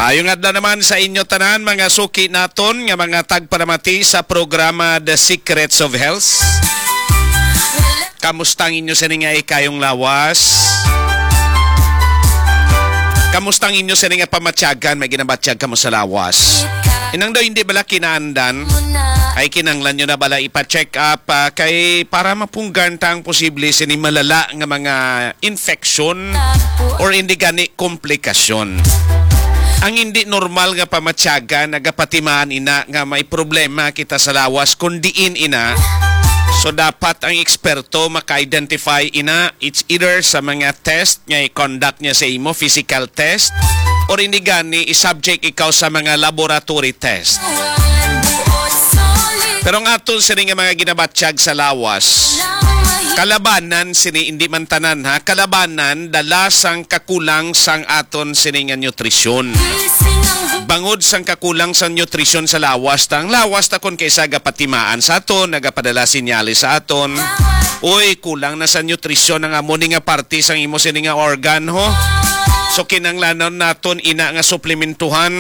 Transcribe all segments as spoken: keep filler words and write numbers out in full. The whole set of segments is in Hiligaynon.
Ayong adlaw naman sa inyo tanan, mga suki naton nga mga tagpalamati sa programa The Secrets of Health. Kamusta ang inyo sini nga ikayong lawas? Kamusta ang inyo sini nga pamatyagan? May ginabatyag kamo sa lawas? Inang daw hindi bala kinaandan? Ay kinahanglan nyo na bala ipa-check up, ah, kay para mapunggan ta ang posible sini malala nga mga infection or hindi gani komplikasyon. Ang hindi normal nga pamatyagan nagapatimaan ina nga may problema kita sa lawas kun diin ina. So dapat ang eksperto maka-identify ina, it's either sa mga test nga i-conduct niya sa imo, physical test, or hindi gani i-subject ikaw sa mga laboratory test. Pero ang aton sini nga mga ginabatyag sa lawas, kalabanan sini, hindi man tanan ha, kalabanan dala sang kakulang sang aton sini nga nutrisyon. Bangod sang kakulang sang nutrisyon sa lawas ta, ang lawas ta kon kaisa gapatimaan sa aton, nagapadala sinyales sa aton, uy, kulang na sa nutrisyon ang amo ni nga parte sang imo sini nga organ, ho. So kinanglanon naton ina nga suplementuhan.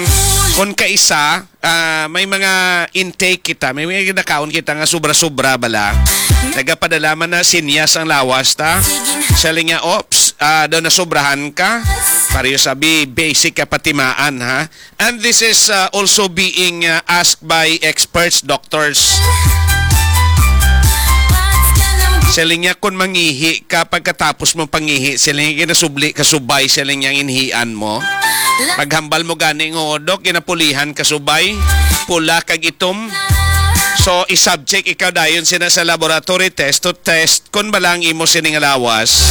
Kon kaisa, ah, may mga intake kita, may mga ginakaon kita nga sobra-sobra bala. Nagapadala man na sinyas ang lawas ta. Siling niya, "Ops, ah, daw nasobrahan ka." Pareho sabi, basic ka patimaan, ha? And this is, uh, also being, uh, asked by experts, doctors. Siling niya, kung mangihi ka, pagkatapos mo pangihi, siling niya, ginasubli ka subay, siling niya, ang inhian mo. Paghambal mo gani nga, "Dok, ginapulihan ka subay, pula kag itom." So, i-subject ikaw dayon sina sa laboratory test to test kon bala ang imo sini nga lawas,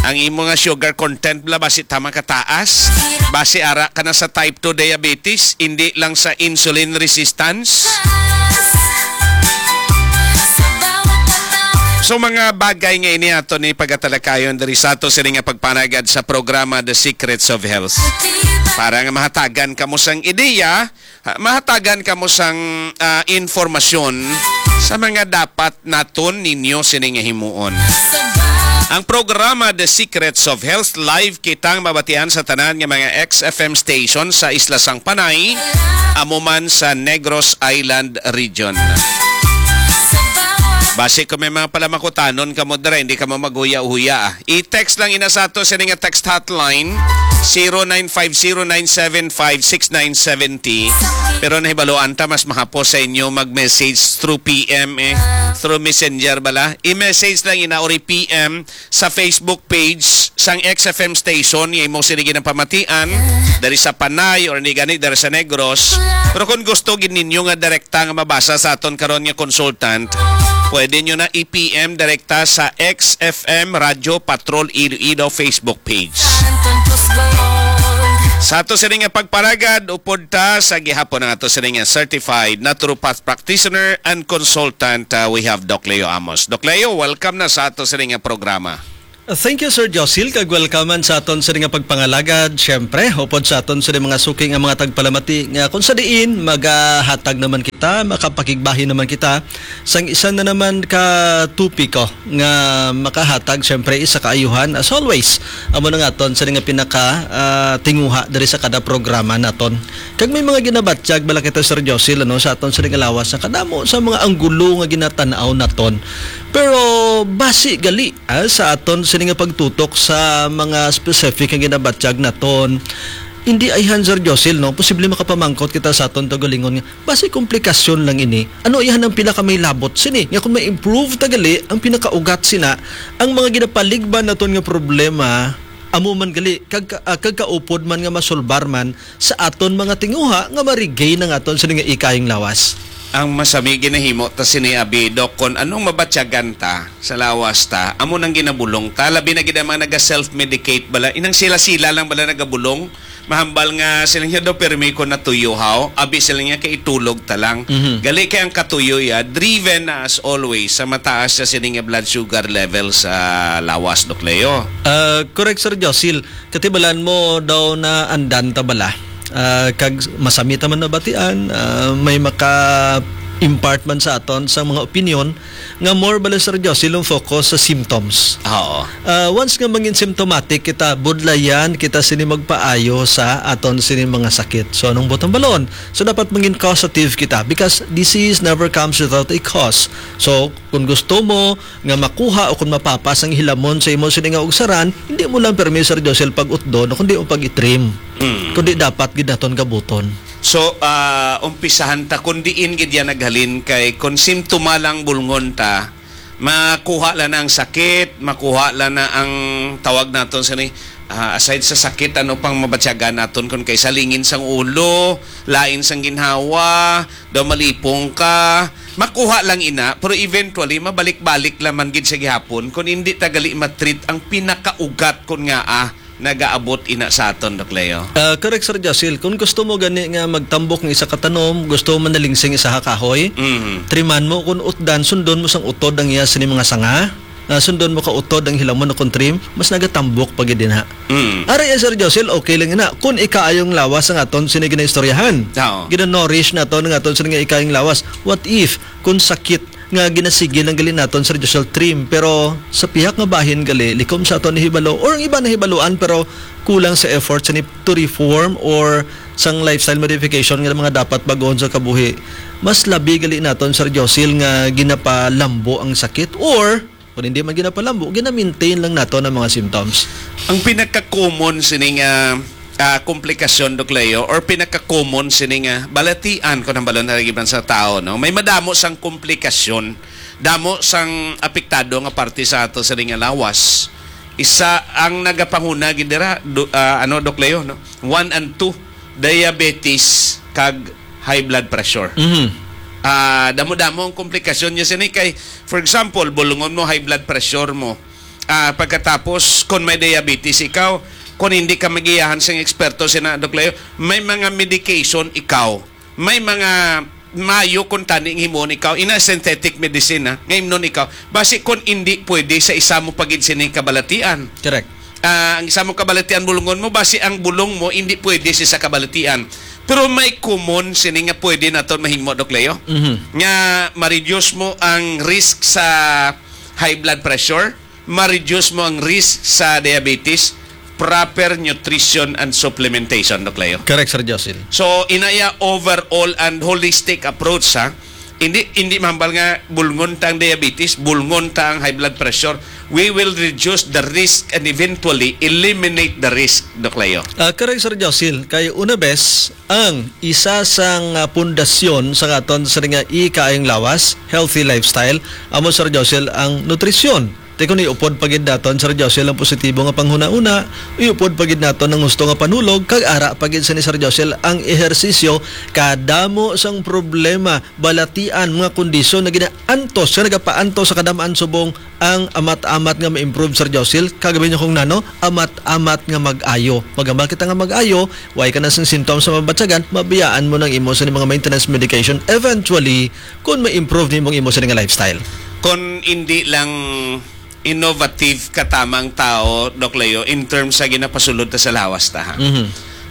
ang imo nga sugar content bala, basi tama ka taas, basi ara ka na sa type two diabetes, hindi lang sa insulin resistance. So, mga bagay nga ini ato ni pagatalakayon diri sa ato sini nga pagpanagad sa programa The Secrets of Health. Para nga mahatagan kamo sang ideya, ha, mahatagan kamo sang, ah, informasyon sa mga dapat naton ninyo sini nga himuon. Ang programa The Secrets of Health live kitang mabatian sa tanan nga mga X F M station sa Isla sang Panay, amo man sa Negros Island Region. Basi kung may mga palamakutanon kamo dira, hindi kamo maghuya-huya. I-text lang ina sa ato sini nga text hotline, zero nine five zero nine seven five six nine seven zero. Pero nahibaluan ta, mas mahapos sa inyo mag-message through P M, eh, through messenger bala. I-message lang ina or i-P M sa Facebook page sang X F M station nga imo sini ginapamatian, diri sa Panay or ni gani diri sa Negros. Pero kung gusto gid ninyo nga direkta nga mabasa sa aton karon nga consultant, pwede nyo na i-P M direkta sa X F M Radyo Patrol Iloilo Facebook page. Sa ato sini nga pagparagad, upod ta sa gihapon ang ato sini nga certified naturopath practitioner and consultant, uh, we have Doc Leo Amos. Doc Leo, welcome na sa ato sini nga programa. Uh, thank you, Sir Josil, kag welcome man sa aton sini nga pagpangalagad. Siyempre, upod sa aton sini mga suki nga mga tagpalamati nga kung sa diin magahatag naman kita, makapakigbahin naman kita sang isa na naman ka topiko nga makahatag, siyempre, isa ka ayuhan, as always. Amo na nga aton sini nga pinaka, ah, tinguha diri sa kada programa naton. Kag may mga ginabatyag bala kita, Sir Josil, ano, sa aton sini nga lawas nga kadamo sa mga anggulo nga ginatan-aw naton. Pero basi gali, ah, sa aton sini nga pagtutok sa mga specific nga ginabatyag naton, hindi ayhan, Sir Josil, no? Posible makapamangkot kita sa aton kaugalingon nga basi komplikasyon lang ini. Ano ayhan ang pinakamay labot sini? Nga kung ma-improve ta gali ang pinakaugat sina, ang mga ginapaligban naton nga problema, amo man gali, kag, ah, kag kaupod man nga masulbar man sa aton mga tinguha nga ma-regain ang aton sini nga ikayong lawas. Ang masami ginahimo ta sini, abi, Doc, kon anong mabatyagan ta sa lawas ta, amo nang ginabulong ta. Labi na gid ang mga naga-self-medicate bala. Inang sila-sila lang bala nagabulong. Mahambal nga sila niya daw, "Permi ko natuyo, haw." Abi sila niya, "Kay itulog ta lang." Mhm. Gali kay ang katuyo ya, driven na as always sa mataas sa sini nga blood sugar level sa lawas, Doc Leo. Ah, correct, Sir Josil. Katibalan mo daw na andan ta bala. Ah, kag masami ta man nabatian, ah, may maka impart man sa aton sa mga opinion nga more bala, Sir Josil, ang focus sa symptoms. Oo. Ah, once nga mangin symptomatic kita, budlayan kita sini magpaayo sa aton sini mga sakit. So, anong butang balon? So, dapat mangin causative kita because disease never comes without a cause. So, kung gusto mo nga makuha o kung mapapas ang hilamon sa imo sini nga ugsaran, hindi mo lang permi, Sir Josil, pag-utdon o kundi mo pag-itrim. Mm. Kundi dapat gid naton gabuton. So, ah, umpisahan ta kung diin gid yan naghalin, kay kung simptoma lang bulngon ta, makuha lang na ang sakit, makuha lang na ang tawag naton sini, ah, aside sa sakit, ano pang mabatyagan naton kung kay salingin sang ulo, lain sang ginhawa, daw malipong ka, makuha lang ina, pero eventually, mabalik-balik lang man gid siya gihapon kung hindi ta gali matreat ang pinakaugat kun ngaa nagaabot ina sa aton, Doc Leo. Ah, correct, Sir Josil. Kung gusto mo gani nga magtambok ng isa ka tanom, gusto mo manalingsing isa ka kahoy, Mhm. triman mo, kung utdan, sundon mo sang utod ang iya sini mga sanga, ah, sundon mo ka utod ang hilamon o kung trim, mas nagatambok pa gid dinha. Mm. Ari, eh, Sir Josil, okay lang ina. Kung ikaayong lawas ang aton sini ginaistoryahan, Oo. gina-nourish naton ang aton sini nga ikaayong lawas. What if, kung sakit nga ginasigil ang gali naton, Sir Josil, trim, pero sa pihak nga bahin gali, likom sa aton nahibalo, or ang iba nahibaluan, pero kulang sa effort sini to reform or sang lifestyle modification nga mga dapat bag-on sa kabuhi. Mas labi gali naton, Sir Josil, nga ginapalambo ang sakit, or kung hindi man ginapalambo, gina-maintain lang naton ang mga symptoms. Ang pinaka-common sini nga, ah, komplikasyon, Doc Leo, or pinaka-common sini nga balatian, kung ang balon na giban sa tao, no? May madamo sang komplikasyon, damo sang apektado nga parte sa ato sini nga lawas. Isa ang nagapanguna gid dira, do-, ah, ano, Doc Leo, no? One and two, diabetes kag high blood pressure. Mhm. Ah, damo-damo ang komplikasyon niya sini kay, for example, bulungon mo, high blood pressure mo. Ah, pagkatapos, kung may diabetes ikaw, kung hindi ka magiyahan sing eksperto sina Doc Leo, may mga medication ikaw, may mga mayo kung tani ang himuon ikaw, ina synthetic medicine, ha, nga imnon ikaw. Basi kung hindi pwede sa isa mo pagid sini kabalatian. Correct. Ah, ang isa mo kabalatian bulungon mo, basi ang bulong mo hindi pwede sa isa kabalatian. Pero may common sini nga pwede naton mahimo, Doc Leo, Mhm. nga ma-reduce mo ang risk sa high blood pressure, ma-reduce mo ang risk sa diabetes, proper nutrition and supplementation, Doc Leo. Correct, Sir Josil. So, inaya overall and holistic approach, ha? Hindi, hindi mahambal nga bulngon ta ang diabetes, bulngon ta ang high blood pressure. We will reduce the risk and eventually eliminate the risk, Doc Leo. Ah, correct, Sir Josil. Kay una bes, ang isa sang, ah, pundasyon sa aton sini nga ikaayong lawas, healthy lifestyle, amo, Sir Josil, ang nutrisyon. Ti kung iupod pa gid naton, Sir Josil, ang positibo nga panghunahuna, iupod pa gid naton ang husto nga panulog, kag ara pa gid sini, Sir Josil, ang ehersisyo. Kadamo sang problema, balatian, mga kondisyon na ginaantos, nga nagapaantos sa kadam-an subong ang amat-amat nga ma-improve, Sir Josil. Kagabi niyo kung nano, amat-amat nga mag-ayo. Magambal kita nga mag-ayo, way ka na sing symptoms sa mabatyagan, mabiyaan mo nang imo sa mga maintenance medication. Eventually, kung ma-improve nimo ang imo sini nga lifestyle. Kung hindi lang innovative ka tamang tao, Doc Leo, in terms sa ginapasulod ta sa lawas ta, ha? Mhm.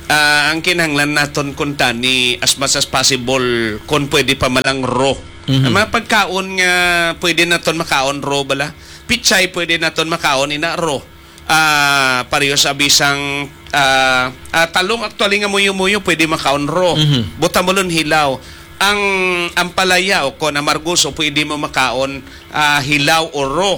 Ah, ang kinahanglan naton kuntani, as much as possible, kung pwede pa malang raw. Mhm. Ang mga pagkaon nga pwede naton makaon raw bala. Pichay pwede naton makaon ina raw. Ah, pareho sa bisang, ah, ah, talong actually nga muyo-muyo pwede makaon raw. Mhm. Butang balon hilaw. Ang ampalaya o kon amargoso pwede mo makaon, ah, hilaw o raw.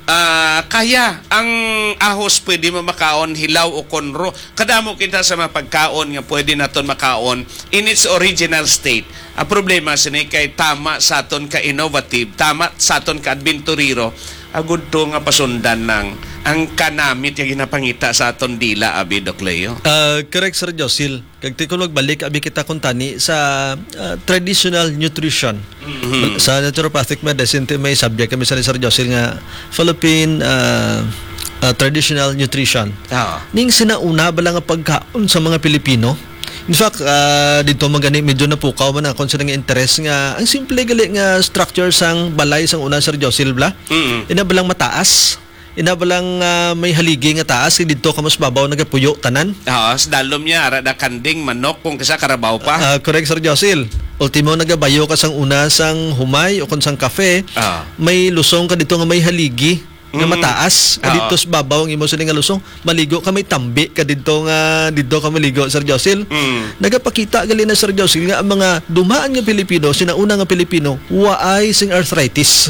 Ah, kaya ang ahos pwede mo makaon hilaw o kon raw. Kadamo kita sa mga pagkaon nga pwede naton makaon in its original state. Ang problema sini kay tama sa aton ka innovative, tama sa aton ka adventurero, agud to nga pasundan lang ang kanamit nga ginapangita sa aton dila, abi, Doc Leo. Ah, correct, Sir Josil. Kag ti kung magbalik abi kita kuntani sa, ah, traditional nutrition. Mhm. Sa naturopathic medicine, ti may subject kami sa Sir Josil nga Philippine, ah, ah, traditional nutrition. Oo. Ning sinauna bala nga pagkaon sa mga Pilipino. In fact, ah, dito man gani medyo napukaw man akon sa nga interes nga ang simple gali nga structure sang balay sang una, Sir Josil, bala. Mm. Ina balang mataas. Ina ba lang, ah, may haligi nga taas, didto ka mas babaw nagapuyo tanan? Oo, sa dalom niya, ara da kanding, manok, kung kasa karabaw pa. Ah, correct, Sir Josil. Ultimo, nagabayo ka sang una sang humay o kung sang kafe, Ah. may lusong ka dito nga may haligi nga Mm. mataas. Ah, Oo. dito sa babaw ang imo sini nga lusong. Maligo ka, may tambi ka dito nga, dito ka maligo, Sir Josil. Mm. Nagapakita gali na, Sir Josil, nga ang mga dumaan nga Pilipino, sinauna nga Pilipino, waay sing arthritis.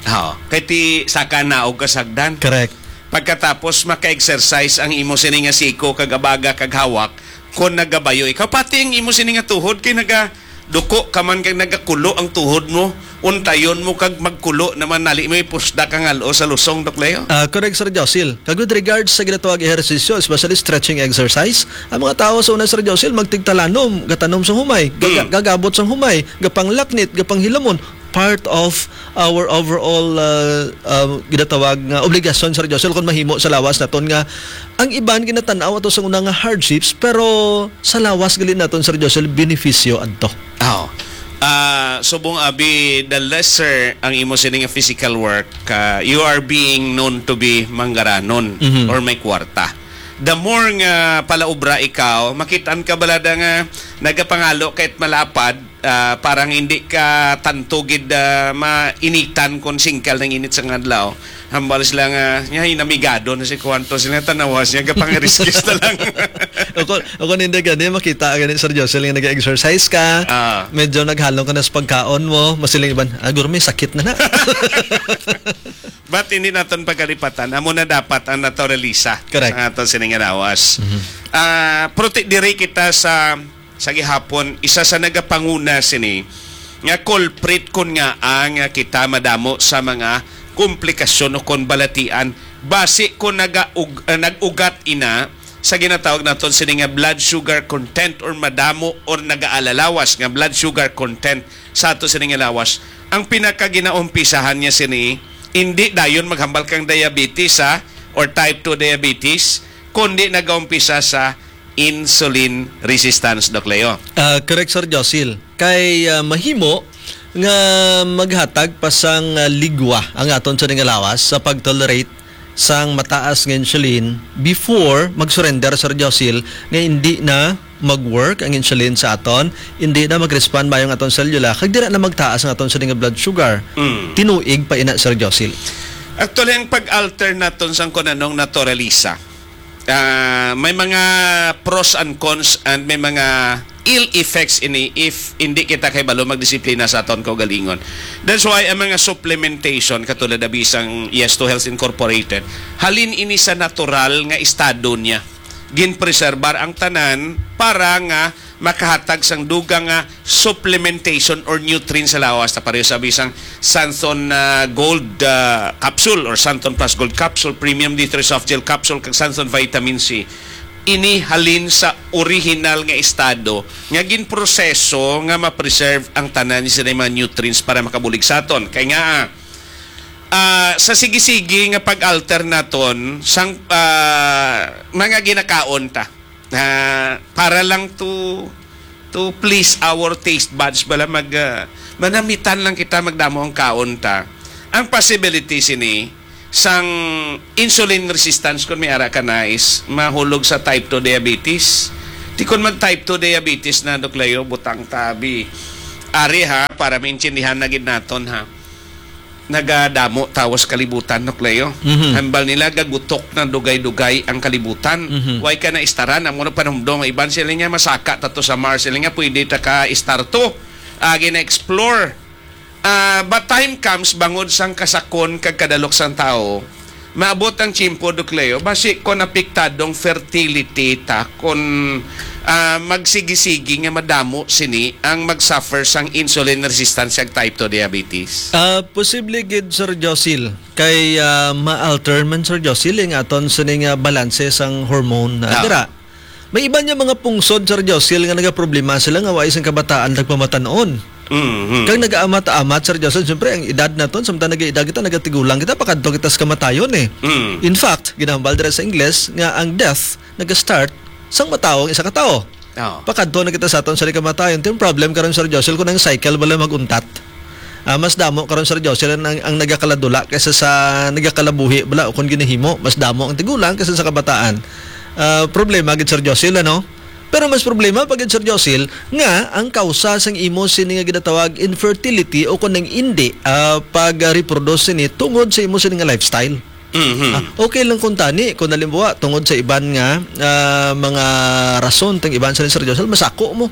Oo. Kay ti saka naog ka sagdan. Correct. Pagkatapos maka-exercise ang imo sini nga siko kag abaga kag hawak kon nagabayo ikaw. Pati ang imo sini nga tuhod kay nagaduko ka man kag nagakulo ang tuhod mo. Untayon mo kag magkulo naman nali may pusda ka ngalo sa lusong, Doc Leo. Ah, correct, Sir Josil. Kag with regards sa ginatawag ehersisyo, especially stretching exercise, ang mga tao sa una, Sir Josil, magtigtalanom, gatanom sa humay, gaga- Mm. gagabot sa humay, gapanglaknit, gapanghilamon, part of our overall, uh, uh, ginatawag nga obligasyon, Sir Josel, kung mahimo sa lawas naton nga ang iban ginatanaw ato sa una nga hardships, pero sa lawas gali naton, Sir Josel, benepisyo adto. Oh. Ah, subong abi, the lesser ang imo sini nga physical work, ah, you are being known to be manggaranon Mhm. or may kwarta. The more nga palaubra ikaw, makitaan ka balada nga nagapangalo kahit malapad, ah, parang hindi ka tanto gid, ah, mainitan kon singkal ng init sa adlaw. Hambal sila nga, "Nya, hinamigado na si Kuwanto." Sila tanawas niya, gapangiriskis na lang. O kon, o kon hindi gani, makita gani, Sir Josel, nga nag-exercise ka, Ah. medyo naghalong ka na sa pagkaon mo, masiling iban, "Ah, guro, may sakit na na." But hindi naton pagkalipatan, amo na dapat ang naturalisa Correct. sa aton sining lawas. Mhm. Ah, pero ti-, diri kita sa sa gihapon, isa sa nagapanguna sini nga culprit kon ngaa nga kita madamo sa mga komplikasyon o kon balatian basi kon nagaug-, ah, nag-ugat ina sa ginatawag naton sini nga blood sugar content or madamo or nagaalalawas nga blood sugar content sa ato sini nga lawas. Ang pinakaginaumpisahan niya sini, hindi dayon maghambal kang diabetes, ha, or type two diabetes, kundi nagaumpisa sa insulin resistance, Doc Leo. Ah, correct, Sir Josil. Kay, ah, mahimo nga maghatag pa sang, ah, ligwa ang aton sa nga lawas sa pag-tolerate sang mataas nga insulin before mag-surrender, Sir Josil, nga hindi na mag-work ang insulin sa aton, hindi na mag-respond mayo ang aton selula, kag dira na magtaas ang aton sa nga blood sugar. Mm. Tinuig pa ina, Sir Josil. Actually, ang pag-alter naton sang kun anong naturalisa, ah, may mga pros and cons and may mga ill effects ini if hindi kita kay balo magdisiplina sa aton kaugalingon. That's why ang mga supplementation, katulad na bisang Yes to Health Incorporated, halin ini sa natural nga estado niya. Ginpreserbar ang tanan para nga makahatag sang dugang nga supplementation or nutrients sa lawas. Ta pareho sa bisang Santon, ah, Gold, ah, capsule or Santon Plus Gold capsule, Premium D three Soft Gel capsule, kag Santon Vitamin C. Ini halin sa original nga estado nga ginproseso nga ma-preserve ang tanan ni sila mga nutrients para makabulig sa aton. Kay nga, ah, sa sige-sige nga pag-alter naton sang, ah, mga ginakaon ta, ah, para lang to to please our taste buds, bala mag, ah, manamitan lang kita, magdamo ang kaon ta. Ang possibility sini sang insulin resistance, kung may ara ka na, is mahulog sa type two diabetes. Ti kon mag type two diabetes na, Doc Leo, butang tabi. Ari ha, para maintindihan na gid naton ha. Nagadamo tawo sa kalibutan, Doc Leo. Mhm. Hambal nila, gagutok na dugay-dugay ang kalibutan. Mhm. Way ka na istaran, amo na panumdom. Iban sila nga masaka ta to sa Mars, sila nga pwede ta ka istar to. Agi na explore. Ah, but time comes, bangod sang kasakon kag kadalok sang tawo, maabot ang tiyempo, Doc Leo, basi kon apektadong fertility ta, kon, ah, magsigi-sigi nga madamo sini ang mag-suffer sang insulin resistance kag type two diabetes. Ah, posible gid, Sir Josil, kay, ah, ma-alter man, Sir Josil, ang aton sini nga balanse sang hormone, ah, Ah. dira. May iban nga mga pungsod, Sir Josil, nga nagaproblema sila nga wa sing kabataan nagpamatan-on. Mhm. Kag nagaamat-amat, Sir Josil, siyempre, ang edad naton, samtang nag-edad kita, nagatigulang kita, pakadto kita sa kamatayon, eh. Mm. In fact, ginahambal dira sa Ingles nga ang death nag-start sang matawo ang isa ka tawo. Oo. Pakadto na kita sa aton sa kamatayon. Ito yung problem karon, Sir Josil, kung ang cycle bala mag-untat. Ah, mas damo karon, Sir Josel, ang, ang nagakaladula kaysa sa nagakalabuhi bala o kon ginahimo. Mas damo ang tigulang kaysa sa kabataan. Ah, problema gid, Sir Josel, ano? Pero mas problema pa gid, Sir Josel, nga ang kausa sang imo sini nga ginatawag infertility o kon ang indi, ah, pag-reproduce sini tungod sa imo sini nga lifestyle. Mhm. Ah, okay lang kung tani, kung halimbawa, tungod sa iban nga, ah, mga rason, tang iban sa ni Sir Josel, masako mo.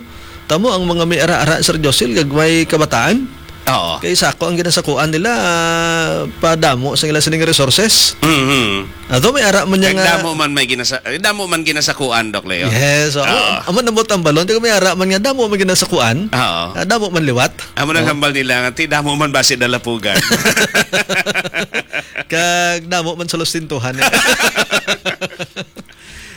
Tamo ang mga may ara-ara, Sir Josel, gagmay kabataan. Oo. Kay sako ang ginasakuan nila, ah, padamo sa ila sining resources. Mhm. Ato may ara man niya Kag nga damo man may ginasa-, eh, damo man ginasakuan, Doc Leo. Yes, oo. Oo. Amo na mo tambalon, kag may ara man nga damo man ginasakuan. Oo. Ah, damo man liwat. Amo nang Oo. hambal nila nga, "Ti, damo man basi dalapugan." Kag damo man sa lustintuhan, eh.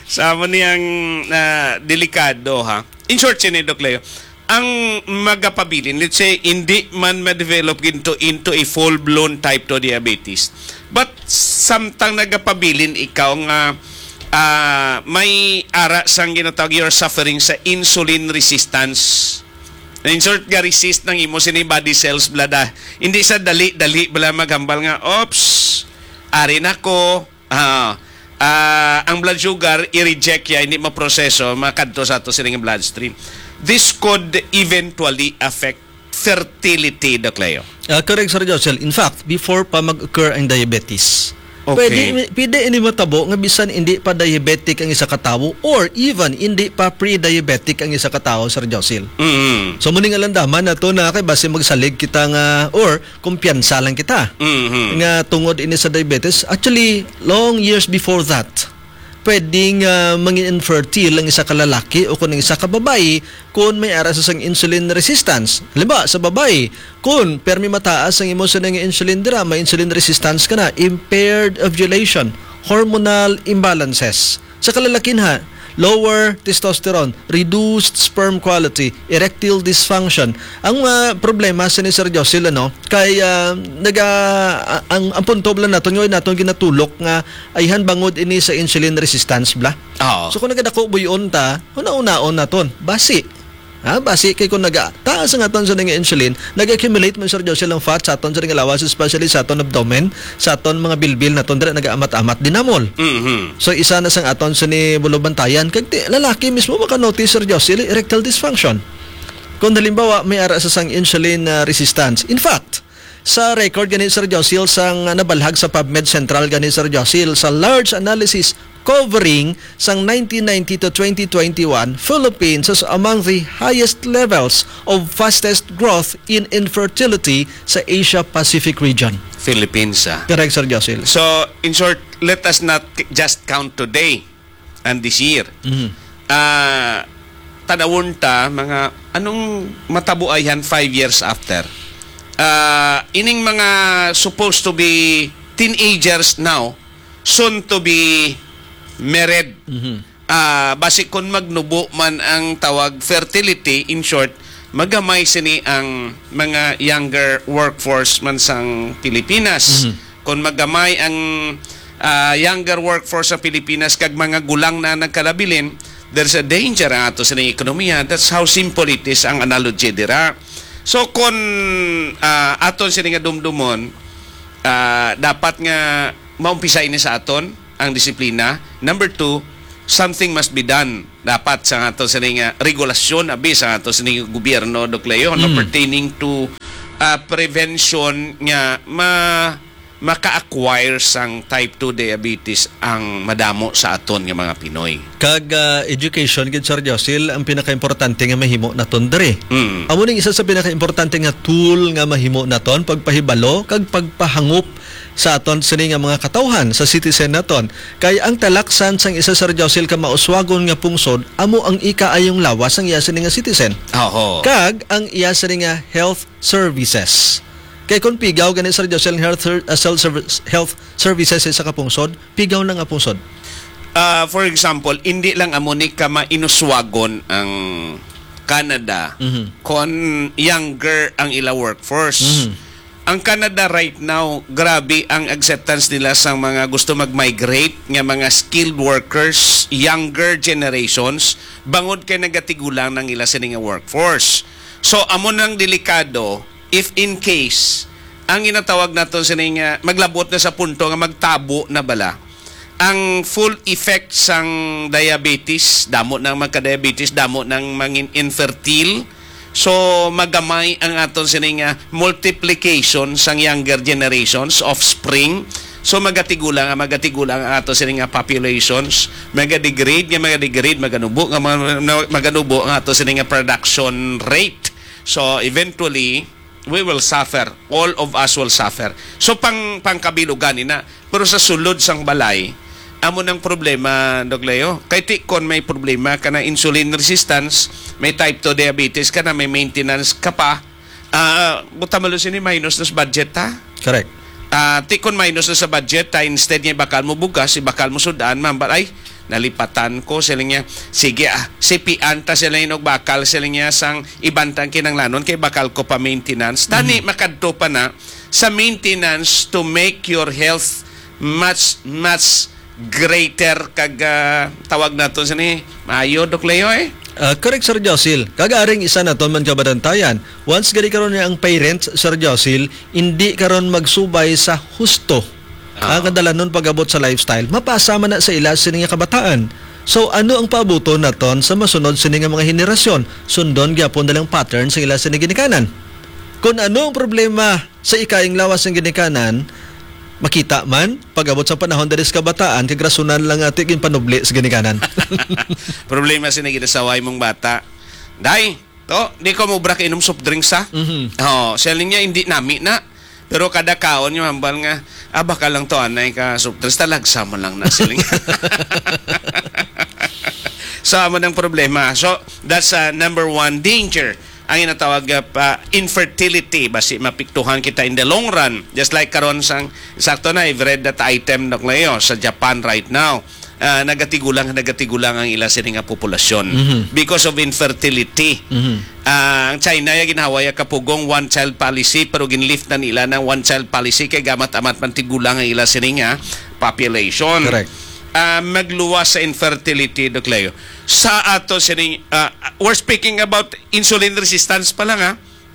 Sa amo niyang, ah, delikado, ha. In short, sini, Doc Leo, ang magapabilin, let's say, hindi man ma-develop into, into a full-blown type two diabetes. But samtang nagapabilin ikaw nga, ah, may ara sang ginatawag, you're suffering sa insulin resistance. In short, ga-resist ng imo sini body cells, blada. Hindi sa dali-dali bala maghambal nga, "Oops, ari na ko." Ah, ah, ang blood sugar, i-reject ya, hindi maproseso, makadto sa ato sining bloodstream. This could eventually affect fertility, Doc Leo. Ah, correct, Sir Josel. In fact, before pa mag-occur ang diabetes, Okay. pwede, pwede ini matabo nga bisan hindi pa diabetic ang isa ka tawo or even hindi pa pre-diabetic ang isa ka tawo, Sir Josel. Mm. So, muni nga landaman nato na kay basi magsalig kita nga or kumpiyansa lang kita Mhm. nga tungod ini sa diabetes. Actually, long years before that, pwedeng, ah, mangin infertile ang isa ka lalaki o kung ang isa ka babayi kung may ara sa sang insulin resistance. Halimbawa, sa babayi, kung permi mataas ang imo sa nga insulin dira, may insulin resistance ka na, impaired ovulation, hormonal imbalances. Sa kalalakinha, lower testosterone, reduced sperm quality, erectile dysfunction. Ang, ah, problema sini, Sir Josil, ano, kay, ah, naga-, a-, ang, ang punto lang naton, nga naton ginatulok nga ayhan bangod ini sa insulin resistance, bla. Oo. So, kung nagadako buyon ta, una-unaon naton, basi. Ha, basi kay kung naga-, taas ang aton sa nga insulin, nag-accumulate man, Sir Josil, ang fat sa aton sa nga lawas, especially sa aton abdomen, sa aton mga bilbil naton, dira nagaamat-amat dinamol. Mhm. So, isa na sang aton sini bulubantayan. Kag ti-, lalaki mismo maka-notice, Sir Josil, erectile dysfunction. Kung halimbawa, may ara sa sang insulin, ah, resistance. In fact, sa record gani, Sir Josil, sang nabalhag sa PubMed Central gani, Sir Josil, sa large analysis covering sang nineteen ninety to twenty twenty-one, Philippines is among the highest levels of fastest growth in infertility sa Asia-Pacific region. Philippines, ah. Correct, Sir Josil. So, in short, let us not k-, just count today and this year. Mhm. Ah, tanawon ta, mga, anong matabuayhan five years after? Ah, ining mga supposed to be teenagers now, soon to be married. Mhm. Ah, basi kon magnubo man ang tawag fertility, in short, magamay sini ang mga younger workforce man sang Pilipinas. Mhm. Kon magamay ang, ah, younger workforce sa Pilipinas kag mga gulang na nagkalabilin, there's a danger ang ato sining ekonomiya. That's how simple it is ang analogy dira. So, kon, ah, aton sini nga dumdumon, ah, dapat nga maumpisa ini sa aton ang disiplina. Number two, something must be done. Dapat sa ato sini nga regulasyon, abi, sa ato sini nga gobyerno, Doc Leo, no, Mm. pertaining to, ah, prevention nga ma-, maka-acquire sang type two diabetes ang madamo sa aton nga mga Pinoy. Kag, ah, education gid, Sir Josil, ang pinakaimportante nga mahimo naton diri. Mm. Amo ning isa sa pinakaimportante nga tool nga mahimo naton, pagpahibalo kag pagpahangop sa aton sini nga mga katawhan, sa citizen naton. Kay ang talaksan sang isa, Sir Josil, ka mauswagon nga pungsod, amo ang ikaayong lawas sang iya sini nga citizen. Oho. Kag ang iya sini nga health services. Kay kung pigaw gani, Sir Josil, ang health ser-, ah, self service, health services sa isa ka pungsod, pigaw na nga pungsod. Ah, for example, hindi lang amo ni ka mainuswagon ang Canada Mhm. kon younger ang ila workforce. Mhm. Ang Canada right now, grabe ang acceptance nila sa mga gusto mag-migrate nga mga skilled workers, younger generations, bangod kay nagatigulang nang ila sini nga workforce. So, amo nang delikado, if in case, ang ginatawag naton sini nga maglabot na sa punto nga magtabo na bala, ang full effect sang diabetes, damo nang magka-diabetes, damo nang mangin infertile. So, magamay ang aton sini nga multiplication sang younger generations, offspring. So, magatigulang nga, magatigulang ang ato sini nga populations, magadegrade nga, magadegrade, maganubo nga, mga, maganubo ang ato sini nga production rate. So, eventually, we will suffer. All of us will suffer. So, pang, pangkabilugan ina. Pero sa sulod sang balay, amo nang problema, Doc Leo. Kay ti kon may problema ka na insulin resistance, may type two diabetes ka na, may maintenance ka pa, ah, buta malo sini minus na sa budget, ha? Correct. Ah, ti kon minus na sa budget, ta instead nga ibakal mo bugas, ibakal mo sudan, mambal, ay, nalipatan ko, siling niya. Sige, ah, sipian ta sila yung bakal, siling niya, sang ibantang kinanglanon kay bakal ko pa maintenance. Tani, Mhm. makadto pa na sa maintenance to make your health much, much greater kag, ah, tawag nato sini, maayo, Doc Leo, eh? Ah, correct, Sir Josil. Kag aring isa naton man kabadantayan. Once gani karon nga ang parents, Sir Josil, hindi karon magsubay sa husto Ah. ang kadalanon pag-abot sa lifestyle, mapasa man na sa ila sini nga kabataan. So, ano ang paabuton naton sa masunod sini nga mga henerasyon? Sundon gyapon nilang pattern sa ila sini ginikanan. Kung ano ang problema sa ikayang lawas ng ginikanan, makita man, pag-abot sa panahon diri sa kabataan, kag rasunan lang ati ginpanubli sa ginikanan. Problema sini ginasaway mong bata. Day, to, di ko mubra ka inom soft drinks, ha? Mhm. Oh, siling niya, hindi nami na. Pero kada kaon yung hambal nga, ah, baka lang to, anay ka soft drinks, talagsa mo lang na siling. So, amo nang problema. So, that's, uh, number one danger. Ang ginatawag, uh, pa, infertility, basi mapiktuhan kita in the long run. Just like karon sang, sakto na, I've read that item, Doc Leo, sa Japan right now. Ah, nagatigulang, nagatigulang ang ila sini nga populasyon Mhm. because of infertility. Mhm. Ah, ang China, ya ginhawa ya kapugong one-child policy, pero ginlift na nila ng one-child policy kay gamat-amat man tigulang ang ila sini nga population. Correct. Ah, magluwas sa infertility, Doc Leo. Sa ato sini, ah, we're speaking about insulin resistance pa lang, ha.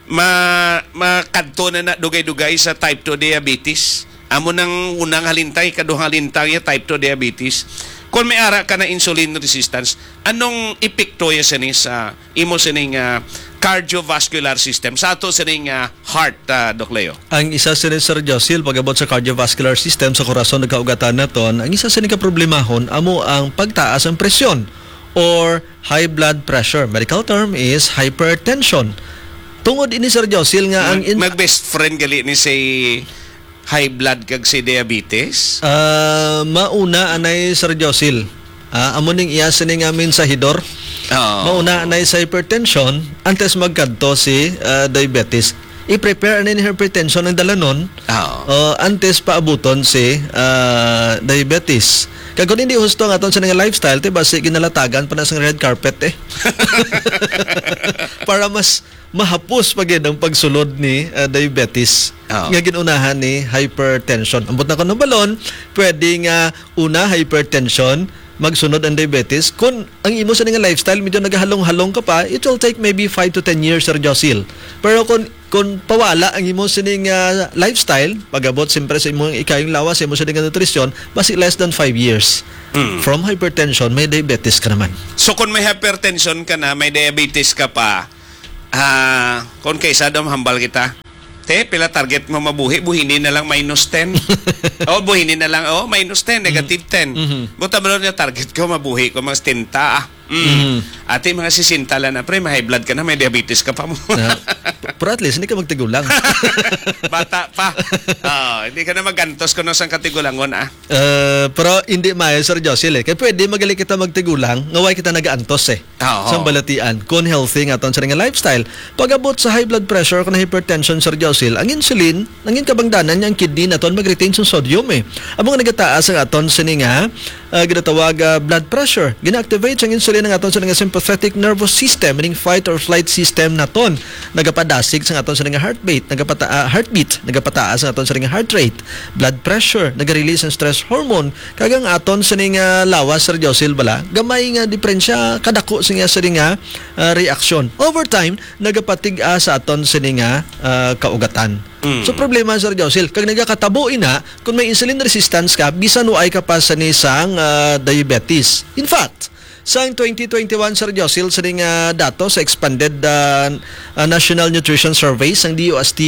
Ma-, makadto na na dugay-dugay sa type two diabetes. Amo nang unang halintang, ikaduhang halintang ya type two diabetes. Kung may ara ka na insulin resistance, anong epekto ya sini sa imo sining, ah, cardiovascular system, sa ato sining, ah, heart, ah, Doc Leo? Ang isa sini, Sir Josil, pag-abot sa cardiovascular system, sa korason ug kaugatan naton, ang isa sini ka problemahon amo ang pagtaas ang presyon or high blood pressure. Medical term is hypertension. Tungod ini, Sir Josil, nga ang Mag-, in- mag-best friend gali ni si high blood kag si diabetes? Ah, mauna anay, Sir Josil. Ah, amo ning iya sini nga mensahidor. Oo. Mauna anay sa hypertension antes magkadto si, ah, diabetes. I-prepare ani ni hypertension ang dalanon, Oo. ah, antes paabuton si, ah, diabetes. Kag kung hindi husto ang aton sini nga lifestyle, ti basi ginalatagan pa na sang red carpet, eh. Para mas mahapos pa gid ang pagsulod ni, ah, diabetes Oo. nga gin-unahan ni hypertension. Ambot na kuno balon, pwede nga una hypertension, magsunod ang diabetes. Kung ang imo sini nga lifestyle, medyo nagahalong-halong ka pa, it will take maybe five to ten years, Sir Josil. Pero kung, kung pawala ang imo sini nga lifestyle, pag-abot siyempre sa imong ikayong lawas, sa imo sini nga nutrisyon, basi less than five years. Mm. From hypertension, may diabetes ka naman. So, kung may hypertension ka na, may diabetes ka pa, ah, kung kaysa daw, hambal kita, te, pila target mo mabuhi? Buhini na lang minus ten. Oh, buhini na lang, oh, minus ten, negative ten. Mhm. Buta mo lang yung target ko, mabuhi ko mga setenta, ah. Mm. Mhm. Ati, mga sesenta lang na, pre, may high blood ka na, may diabetes ka pa mo. Ah, p-, pero at least, hindi ka magtigulang. Bata pa. Oh, hindi ka na magantos kuno sang katigulangon, ah. Eh, pero hindi maayo, Sir Josil, eh. Kaya pwede magali kita magtigulang, nga way kita nagaantos, eh. Oo. Sa balatian, kung healthy nga aton sini nga lifestyle. Pag-abot sa high blood pressure, kung hypertension, Sir Josil, ang insulin, ang kabangdanan niya, ang kidney naton mag-retain sa sodium, eh. Amo nga nagataas ang aton sini nga, ah, ginatawag, ah, blood pressure. Gina-activate ang insulin ang aton sa nga sympathetic nervous system, meaning fight or flight system naton. Nagapadasig sa aton sa nga heartbeat, nagapata ah, heartbeat, nagapataas ang aton sa nga heart rate, blood pressure, naga-release ang stress hormone, kag ang aton sa nga lawas, Sir Josil, bala, gamay nga diperensya, kadako sa nga sa nga ah, reaksyon. Over time, nagapatig-a sa aton sa nga ah, kaugatan. Mm. So problema, Sir Josil, kag nagakatabo ina kung may insulin resistance ka, bisan waay ka pa sa ni sang ah, diabetes. In fact, sang twenty twenty-one, Sir Josil, sa nga datos sa expanded ah, ah, National Nutrition Survey sang D O S T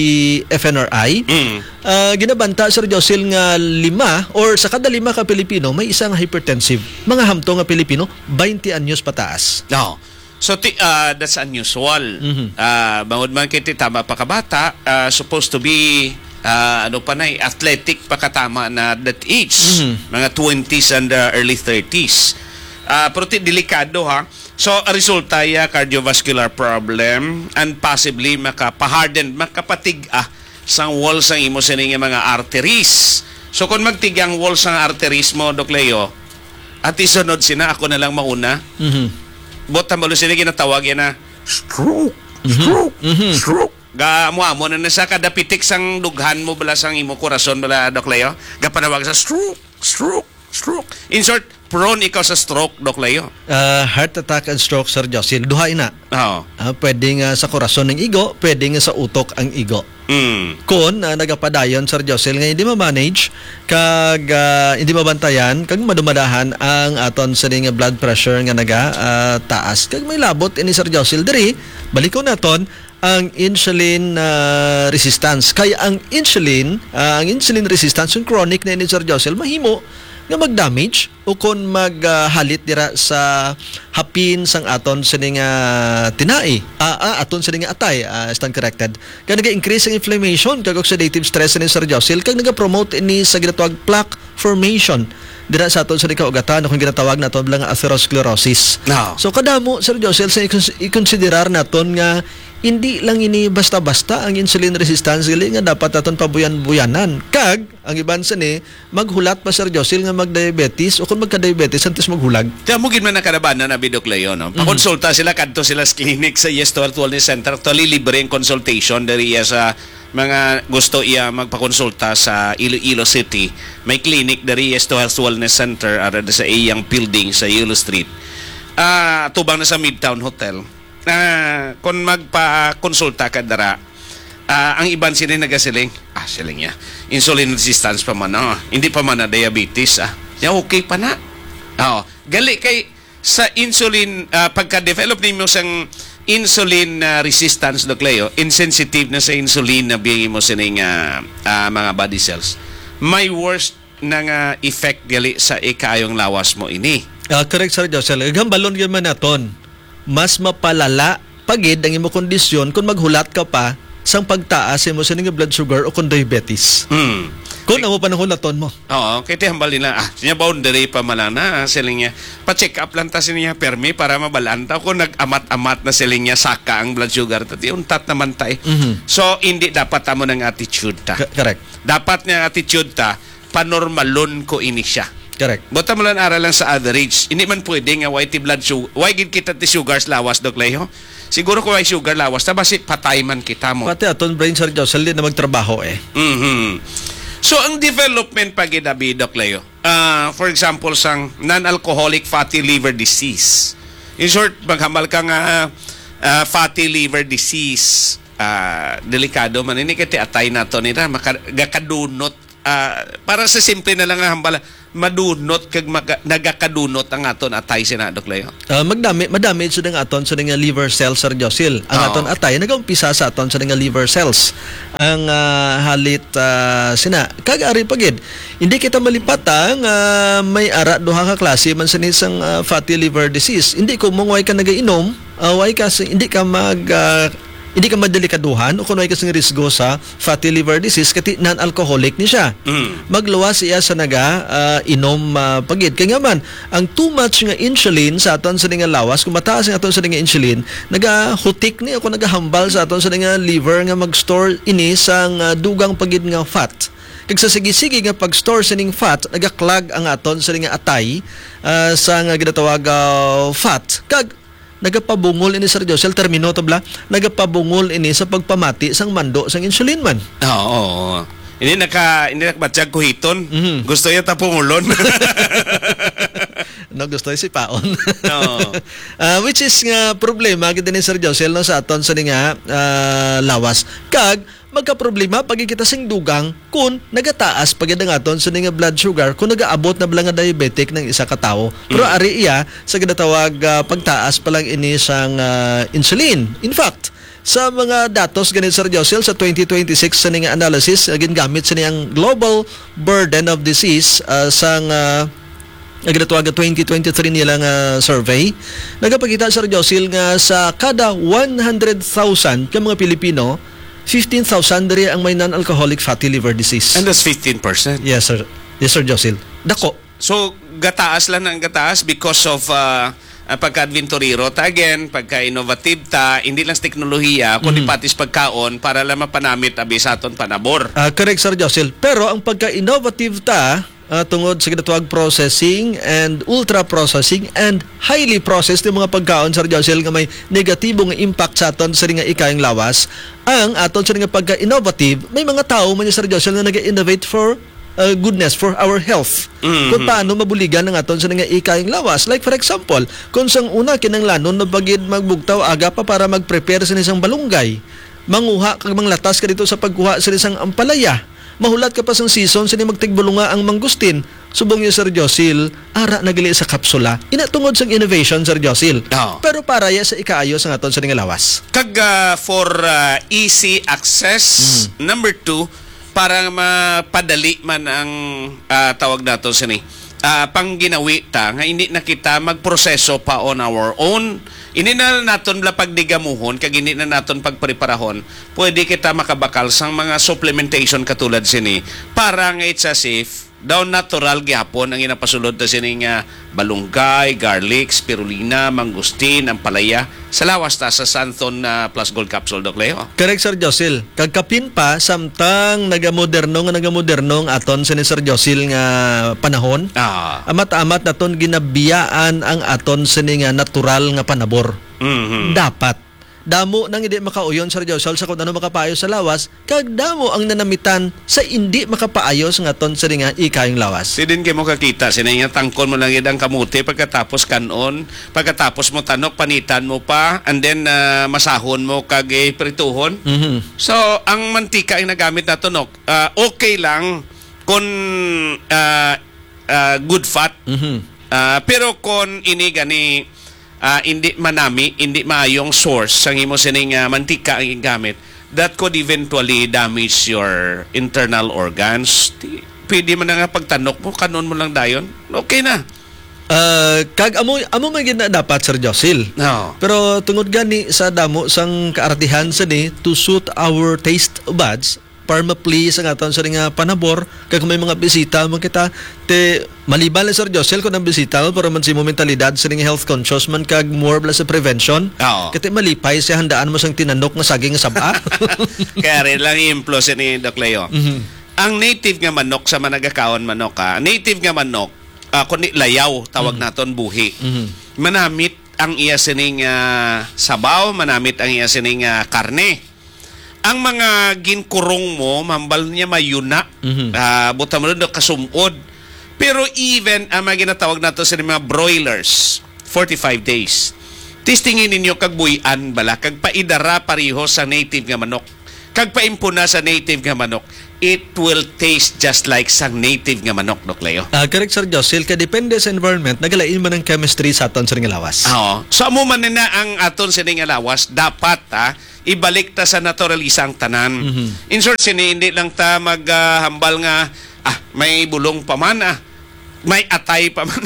F N R I, Mm. ah, ginabanta, Sir Josil, nga lima or sa kada lima ka Pilipino may isa nga hypertensive. Mga hamtong nga Pilipino, twenty anyos pataas. No. So ti, ah, that's unusual. Mhm. Ah, bangod man kay ti tama pa ka bata, ah, supposed to be ah, ano pa na, athletic pa katama na that age, Mhm. mga twenties and uh, early thirties. Ah, pero ti delikado, ha. So, ang resulta ya cardiovascular problem and possibly makapaharden, makapatig-a sang wall sang imo sini nga mga arteries. So, kung magtig-a ang wall sang arteries mo, Doc Leo, at isunod sina, ako na lang mauna. Mhm. Bot tambalo sila ginatawag yan na stroke, Mhm. stroke, Mhm. stroke. Ga amo-amo na na sa kada pitik sang dughan mo bala sang imo korason bala, Doc Leo. Gapanawag sa stroke, stroke, stroke. In short, prone ikaw sa stroke, Doc Leo. Ah, heart attack and stroke, Sir Josil. Duha ina. Oo. Ah, pwede nga sa korason ang igo, pwede nga sa utok ang igo. Mm. Kon ah, nagapadayon, Sir Josil, nga hindi ma-manage, kag ah, hindi mabantayan, kag madumadahan ang aton sining blood pressure nga naga ah, taas. Kag may labot ini, Sir Josil, diri, balikon naton, ang insulin ah, resistance. Kay ang insulin, ah, ang insulin resistance, yung chronic na ini, Sir Josel, mahimo nga mag-damage o kon maghalit dira sa hapin sang aton sining ah, tinai, ah, ah, aton sining atay, ah, stand corrected. Kay naga-increase ang inflammation kag oxidative stress ni, Sir Josel, kag nagapromote ini sa ginatawag plaque formation dira sa aton sa kaugatan, kung ginatawag naton lang nga atherosclerosis. No. So kadamo, Sir Josel, sa ikons- ikonsiderar naton nga hindi lang ini basta-basta ang insulin resistance, gali nga dapat naton pabuyan-buyanan. Kag ang iban sini maghulat pa, Sir Josel, nga magdiabetes o kung magka-diabetes antes maghulag. Kaya mo gid man nakalabanan na, Bidok Leo, no? Mhm. Pakonsulta sila, kadto sila sa clinic sa Yes to Health Wellness Center. Actually, libre ang consultation diri sa mga gusto iya magpakonsulta sa Iloilo City. May clinic diri, Yes to Health Wellness Center, ara sa iyang building sa Yellow Street. Ah, tubang na sa Midtown Hotel. Ah, kung magpakonsulta ka dira, ah, ang iban sila nagasiling, ah, siling niya, insulin resistance pa man, oh. Hindi pa man na diabetes, ah. Ya, okay pa na. Oh, gali kay sa insulin, ah, pagka-develop nimo sang insulin, ah, resistance, Doc Leo, insensitive na sa insulin na biyang imo sining, ah, ah, mga body cells. May worse na nga effect gali sa ikaayong lawas mo ini. Ah, correct, Sir Josel. Gambalon gyud man naton. Mas mapalala pa gid ang imo kondisyon kung maghulat ka pa sang pagtaas sa imo sining blood sugar o kung diabetes. Hmm. Kung amo pa nang hulaton mo. Oo, kay ti hambal nila, ah, siya boundary pa man lang na, siling niya. Pa-check up lang ta siling niya, permi para mabalaan ta kung nag-amat-amat na siling niya, saka ang blood sugar ta. Ti untat naman ta eh. Mhm. So, hindi dapat amo nang attitude ta. Ka- correct. Dapat nga attitude ta, panormalon ko ini siya. Correct. Buta mo lang aral lang sa average. Hindi man pwede nga way ti blood sugar. Way gid kita ti sugar sa lawas, Doc Leo? Siguro kung way sugar lawas, ta basi patay man kita mo. Pati aton brain, Sir Josel, di na magtrabaho eh. Mhm. So, ang development pa gid abi, Doc Leo, ah, for example, sang non-alcoholic fatty liver disease. In short, maghambal ka nga ah, fatty liver disease, ah, delikado man ini kay ti atay nato nila, maka-, gakadunot, ah, para sa simple na lang nga hambal, madunot kag maga-, nagakadunot ang aton atay, sina, Doc Leo. Ah, magdami, madami sa nga aton sa nga liver cells, Sir Josil. Ang Oo. aton atay nagaumpisa sa aton sa nga liver cells. Ang ah, halit ah, sina, kag ari pa gid, hindi kita malipata nga may ara duha ka klase man sa isang ah, fatty liver disease. Hindi ko mong way ka nagainom, ah, way ka sa, hindi ka mag ah, hindi ka madelikaduhan o kung way ka sa risgo sa fatty liver disease kati non-alcoholic ni siya. Mm. Magluwas siya sa naga ah, inom ah, pagid. Kaya nga man, ang too much nga insulin sa aton sa nga lawas, kung mataas ang aton sa nga insulin, nagahutik ni o kung nagahambal sa aton sa nga liver nga mag-store ini sa nga dugang pagid nga fat. Kag sa sige-sige nga pag-store sining fat, nagaklag ang aton sini nga atay, ah, sa nga ginatawag, ah, fat. Kag nagapabungol ini, Sir Josel, termino to bala, nagapabungol ini sa pagpamati sang mando sang insulin man. Oo. Hindi naka, hindi nakabatyag kuhiton. Mhm. Gusto niya tapungulon. No, gusto niya sipaon. Oo. Ah, which is nga problema gid ni, Sir Josel, no, sa aton sini nga, ah, lawas. Kag magkaproblema pa gid kita sing dugang kung nagataas pa gid ang aton sini nga blood sugar, kung nagaabot na bala nga diabetic ng isa ka tawo. Pero Mm. ari iya sa ginatawag, ah, pagtaas pa lang ini sang, ah, insulin. In fact, sa mga datos gani, Sir Josel, sa twenty twenty-six sini nga analysis, ah, gingamit sini ang Global Burden of Disease, ah, sang, ah, ang ginatawag nga twenty twenty-three nila nga survey, nagapakita, Sir Josil, nga sa kada one hundred thousand ka mga Pilipino, fifteen thousand diri ang may non-alcoholic fatty liver disease. And that's fifteen percent. Yes, sir. Yes, Sir Josil. Dako. So, gataas lang ang gataas because of, ah, ang pagka-adventurero ta again, pagka-innovative ta, hindi lang sa teknolohiya, kundi Mhm. pati sa pagkaon para lang mapanamit abi sa aton panabor. Ah, correct, Sir Josil. Pero ang pagka-innovative ta, ah, tungod sa ginatawag processing and ultra-processing and highly processed yung mga pagkaon, Sir Josil, nga may negatibo nga impact sa aton sa nga ikayang lawas. Ang aton sa nga pagka-innovative, may mga tao man, Sir Josil, nga nag-innovate for, uh, goodness, for our health. Mhm. Kung paano mabuligan ang aton sa nga ikayang lawas. Like, for example, kung sang una, kinanglanon na bagid magbugtaw aga pa para mag-prepare sa isang balunggay. Manguha kag manglatas ka dito sa pagkuha sa isang ampalaya. Mahulat ka pa sang season sini magtigbulunga ang mangustin. Subong ni Sir Josil, ara na gali sa kapsula. Ina tungod sang innovation, Sir Josil. Oo. Pero para ya sa ikaayo sa aton sa nga lawas. Kag, ah, for, ah, easy access, Mm. number two, para mapadali man ang, ah, tawag nato sini, ah, pangginawi ta nga hindi na kita magproseso pa on our own. Hindi na naton bala pagdigamuhon, kag hindi na naton pagpreparahon. Pwede kita makabakal sang mga supplementation katulad sini para nga it's as if daw natural gyapon ang ginapasulod ta sini nga balunggay, garlic, spirulina, mangustin, ampalaya. Sa lawas ta sa Santhon, ah, Plus Gold Capsule, Doc Leo. Correct, Sir Josil. Kag kapin pa, samtang nagamoderno nga nagamoderno ang aton sini, Sir Josil, nga panahon, Ah. amat-amat naton ginabiyaan ang aton sini nga natural nga panabor. Mhm. Dapat. Damo nang hindi makauyon, Sir Josel, sa kung ano makapaayo sa lawas, kag damo ang nanamitan sa hindi makapaayo sa aton sini nga ikayong lawas. Si din kay mo kakita, sini nga tangkon mo lang gid ang kamote pagkatapos kan-on, pagkatapos mo tanok, panitan mo pa, and then, ah, masahon mo kag, eh, prituhon. Mhm. So, ang mantika ang nagamit nato, no, ah, okay lang kung, ah, ah, good fat. Mhm. Ah, pero kung ini gani, ah, hindi manami, hindi maayong source sang imo sining, ah, mantika ang igamit, that could eventually damage your internal organs. Di, pwede man na nga pagtanok mo, kanon mo lang dayon. Okay na. Ah, kag amo, amo man gid na dapat, Sir Josil. No. Pero tungod gani sa damo sang kaartihan sa ni to suit our taste buds, para ma-please ang aton sa nga panabor, kag kung may mga bisita man kita, te, maliban lang, Sir Josel, kung ang bisita mo, pero man si mo mentalidad sa nga health conscious man kag more bala sa prevention. Oo. Kati malipay siya, handaan mo sang tinanok nga saging nga saba. Kaya rin lang i-implo siya ni Doc Leo. Mhm. Ang native nga manok sa managakaon manok, ha? Native nga manok, ah, kundi layaw, tawag Mhm. naton, buhi. Mhm. Manamit ang iya sining, ah, sabaw, manamit ang iya sining, ah, karne. Ang mga ginkurong mo, mambal niya mayuna, Mhm. ah, buta mo doon, kasumod. Pero even ang mga ginatawag nato sa mga broilers, forty-five days. Testingin ninyo kag buy-an bala, kag paidara pareho sa native nga manok. Kag paimpuna sa native nga manok, it will taste just like sang native nga manok, Doc Leo. Ah, correct, Sir Josil. Kay depende sa environment, nagalain man ang chemistry sa aton sa nga lawas. Oo. So, amo man na ang aton sini nga lawas, dapat, ha, ibalik ta sa naturalisa ang tanan. Mhm. In short, sini, hindi lang ta mag, ah, hambal nga, ah, may bulong pa man, ah, may atay pa man,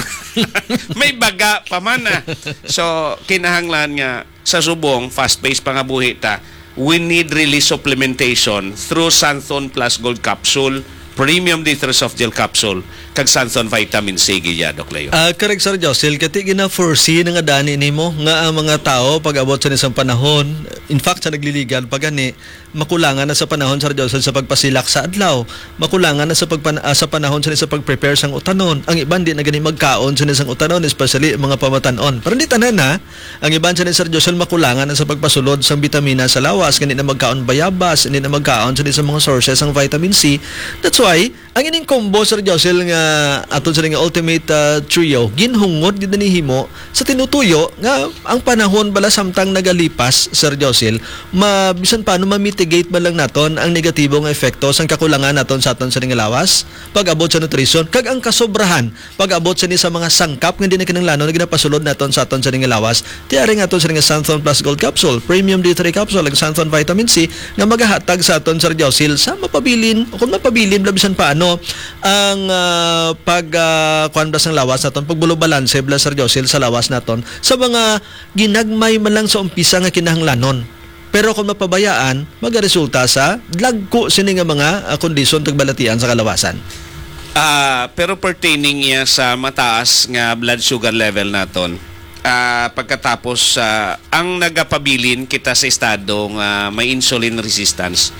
may baga pa man, ah. So, kinahanglan nga sa subong, fast-paced pa nga buhi ta, we need really supplementation through Santhon Plus Gold Capsule, Premium D three Soft Gel Capsule, kag Santhon Vitamin C, gid ya, Doc Leo. Ah, correct, Sir Josil. Kati gina-foresee na nga dani nimo nga ang mga tao pag-abot sa isang panahon, In fact, sa nagliligad pa gani, makulangan na sa panahon, Sir Josel, sa pagpasilak sa adlaw. Makulangan na sa pagpan-, ah, sa panahon sini sa pag-prepare sang utanon. Ang iban di na gani magkaon sini sang utanon, especially ang mga pamatan-on. Pero hindi tanan, ha. Ang iban sini, Sir Josel, makulangan na sa pagpasulod sang bitamina sa lawas. Hindi na magkaon bayabas, hindi na magkaon sini sa mga sources sang vitamin C. That's why, ang ining combo, Sir Josel, nga aton sini nga Ultimate, ah, Trio, ginhungod gid ni himo sa tinutuyo nga ang panahon bala samtang nagalipas, Sir Josel, ma-, bisan paano ma-mitigate man lang naton ang negatibo nga epekto sang kakulangan naton sa aton sini nga lawas, pag-abot sa nutrition, kag ang kasobrahan, pag-abot sini sa mga sangkap nga hindi na kinahanglanon nga ginapasulod naton sa aton sini nga lawas. Tiari nga aton sini nga Santhon Plus Gold Capsule, Premium D three Capsule, ug Santhon Vitamin C nga magahatag sa aton, Sir Josil, sa mapabilin, o kung mapabilin bala bisan paano, ang, ah, pag, ah, kuwan bala sang lawas naton, pagbulubalanse bala, Sir Josil, sa lawas naton, sa mga ginagmay man lang sa umpisa nga kinahanglanon. Pero kung mapabayaan, magaresulta sa dagko sini nga mga, ah, kondisyon kag balatian sa kalawasan. Ah, pero pertaining iya sa mataas nga blood sugar level naton, ah, pagkatapos, ah, ang nagapabilin kita sa estado nga may insulin resistance,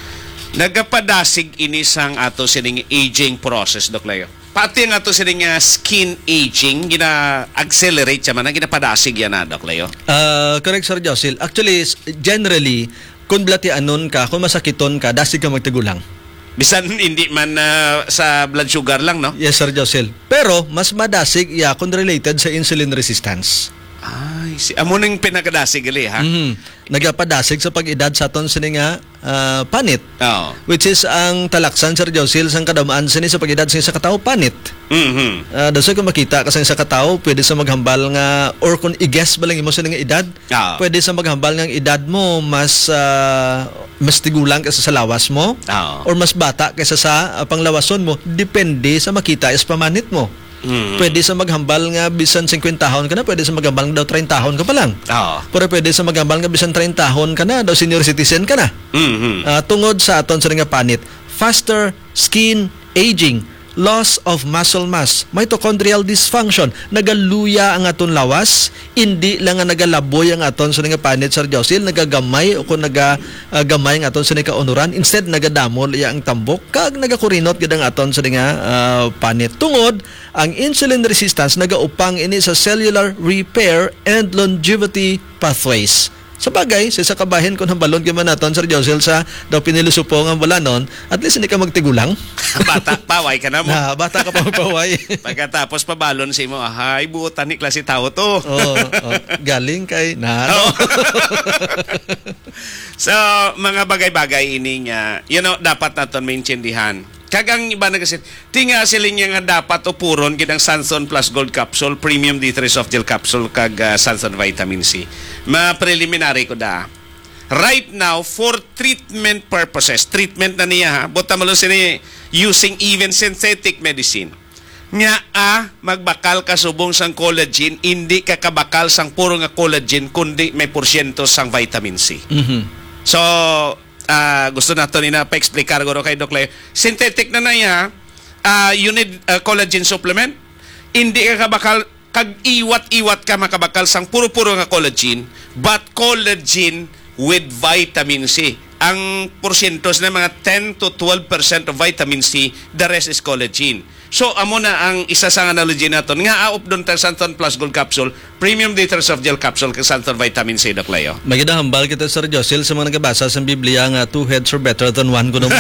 nagapadasig ini sang ato sining aging process, Doc Leo. Pati ang ato sining, ah, skin aging, gina-accelerate siya man, ginapadasig yan na, Doc Leo. Ah, correct, Sir Josil. Actually, s-, generally, kung blatianon ka, kung masakiton ka, dasig ka magtigulang. Bisan hindi man, ah, sa blood sugar lang, no? Yes, Sir Josil. Pero, mas madasig iya kung related sa insulin resistance. Ay, si, amo ning pinakadasig gali, ha? Mhm. Nagapadasig sa pag-edad sa aton sini nga, ah, panit. Oo. Which is ang talaksan, Sir Josil, sang kadamaan sini sa pag-edad sa isa ka tawo, panit. Mhm. Ah, that's why kung makita ka sa isa ka tawo, pwede sa maghambal nga, or kung i-guess ba lang imo sini nga edad, Oo. pwede sa maghambal nga ang edad mo mas, ah, mas tigulang kaysa sa lawas mo, Oo. or mas bata kaysa sa, ah, panglawason mo, depende sa makita sa pamanit mo. Mm. Pwede sa maghambal nga bisan singkwentahon ka na, pwede sa maghambal nga daw treintahon ka pa lang. Oo. Pero pwede sa maghambal nga bisan treintahon ka na, daw senior citizen ka na. Mhm. Ah, tungod sa aton sa nga panit, faster skin aging, loss of muscle mass, mitochondrial dysfunction, nagaluya ang aton lawas, indi lang nga nagalaboy ang aton sa nga panit, Sir Josil, nagagamay o kung naga, ah, gamay ang aton sa kaunuran, instead nagadamol iya ang tambok, kag nagakurinot gid ang aton sa nga, ah, panit. Tungod ang insulin resistance, nagaupang ini sa cellular repair and longevity pathways. Sa bagay, sa isa ka bahin, kung hambalon ka man naton, Sir Josil, sa daw pinilosopo nga balanon, at least hindi ka magtigulang. Bata, paway ka na mo. Na, bata ka pa magpaway. Pagkatapos, pabalon si mo, "Ay, buotan ni klase tao to." Oh, oh, galing kay na, ano? Oh. So, mga bagay-bagay ini nga, you know, dapat naton maintindihan. Kag ang iba nagasin, tinga siling niya nga dapat upuron gid ang Sanson Plus Gold Capsule, Premium D three Soft Gel Capsule, kag, ah, Sanson Vitamin C. Ma-preliminary ko da. Right now, for treatment purposes, treatment na niya, ha? Buta mo lang sini using even synthetic medicine. Nga, ah, magbakal ka subong sang collagen, hindi ka kabakal sang puro nga collagen, kundi may porsyento sang vitamin C. Mhm. So, ah, gusto nato ni na pa-explicar guro kay Doc Leo. Synthetic na na iya, ah, you need, ah, collagen supplement. Hindi ka kabakal kag iwat-iwat ka makabakal sang puro-puro nga collagen, but collagen with vitamin C. Ang porsyento na mga ten to twelve percent of vitamin C, the rest is collagen. So, amo na ang isa sa analogy naton nga aop doon tang Santon Plus Gold Capsule, Premium Detox of Gel Capsule, kag Santon Vitamin C, Doc Leo. Magidahambal kita, Sir Josil, sa mga nagabasa sa Biblia nga two heads are better than one, kuno mo.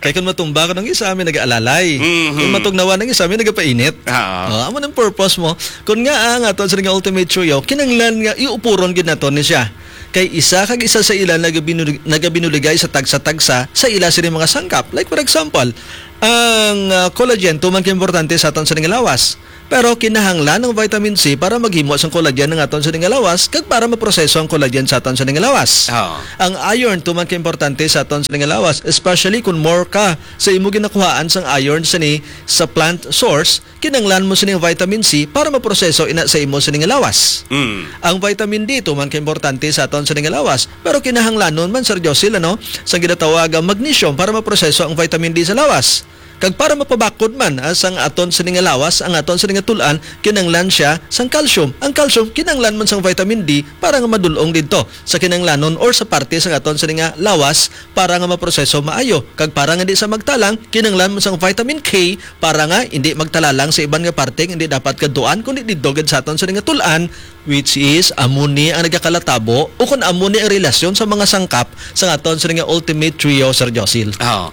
Kay kung matumba ko ng isa, may nag-aalalay. Mhm. Kung matugnawan ng isa, may nagapainit. Oo. Oh, amo nang purpose mo. Kung nga ang aton sa nga Ultimate Trio, kinanglan nga iupuron gid naton ni siya. Kay isa kag isa sa ila nagabinuli-, nagabinuligay sa tagsa-tagsa sa ila sini mga sangkap. Like, for example, ang, ah, collagen, tuman ka importante sa aton sa nga lawas. Pero kinahanglan ang vitamin C para maghimo sang collagen ang aton sa nga lawas kag para maproseso ang collagen sa aton sa nga lawas. Oo. Ang iron, tuman ka importante sa aton sa nga lawas, especially kung more ka sa imo ginakuhaan sang iron sini sa plant source, kinanglan mo sining vitamin C para maproseso ina sa imo sining lawas. Mm. Ang vitamin D, tuman ka importante sa aton sining lawas, pero kinahanglanon man, Sir Josil, ano, sa ginatawag ang magnesium para maproseso ang vitamin D sa lawas. Kag para mapabakod man, ah, sang aton sini nga lawas, ang aton sini nga tul-an, kinanglan siya sang calcium. Ang calcium kinanglan man sang vitamin D para nga madul-ong didto sa kinanglanon or sa parte sang aton sini nga lawas para nga maproseso maayo. Kag para nga di sa magtalang, kinanglan man sang vitamin K para nga hindi magtalalang sa iban nga parte nga hindi dapat kadtuan, kundi didto gid sa aton sini nga tul-an, which is amo ni ang nagakalatabo o kun amo ni ang relasyon sa mga sangkap sa aton sini nga Ultimate Trio, Sir Josil. Oh.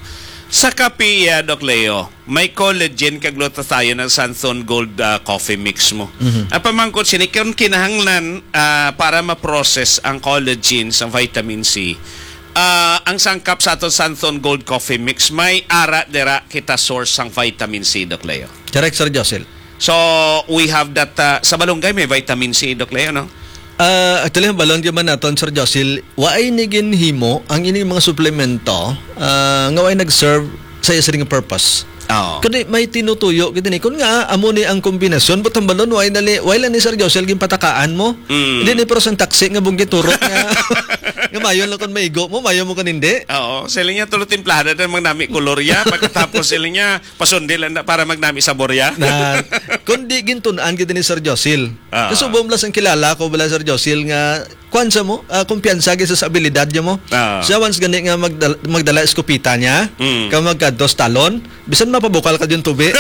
Sa kape, ah, Doc Leo, may collagen kag glutathione ang Santhon Gold, ah, coffee mix mo. Mhm. Ang pamangkot sini, kung kinahanglan, ah, para ma-process ang collagen sa vitamin C, ah, ang sangkap sa aton Santhon Gold coffee mix, may ara dira kita source sang vitamin C, Doc Leo. Correct, Sir Josil. So, we have that, ah, sa malunggay may vitamin C, Doc Leo, no? Ah, actually, ang balon gyud man naton, Sir Josil, wa ay ni ginhimo ang ining mga suplemento, ah, nga wa ay nag-serve sa iya sining purpose. Oo. Kundi may tinutuyo gid ni. Kun nga, amo ni ang kombinasyon, but ang balon, wa ay nali, wa lang ni Sir Josil ginpatakaan mo. Mm. Hindi ni, pero sang taxi nga bunggi turok nga, nga mayo lang kung maigo mo, mayo mo kung hindi. Oo, sila niya tulo timplada na mang nami kolor ya, pagkatapos sila niya, pasundi lang na para magnami sabor ya. Na, kundi gintun-an gid ni Sir Josil. Ah. Kasubong lang sang kilala ko bala, Sir Josil, nga kuwan sa mo, ah, kumpiyansa gid sa abilidad niya mo. Ah. Siya once gani nga magdal-, magdala eskopeta niya, Mm. ka magkadtos talon, bisan mapabukal ka yung tubi.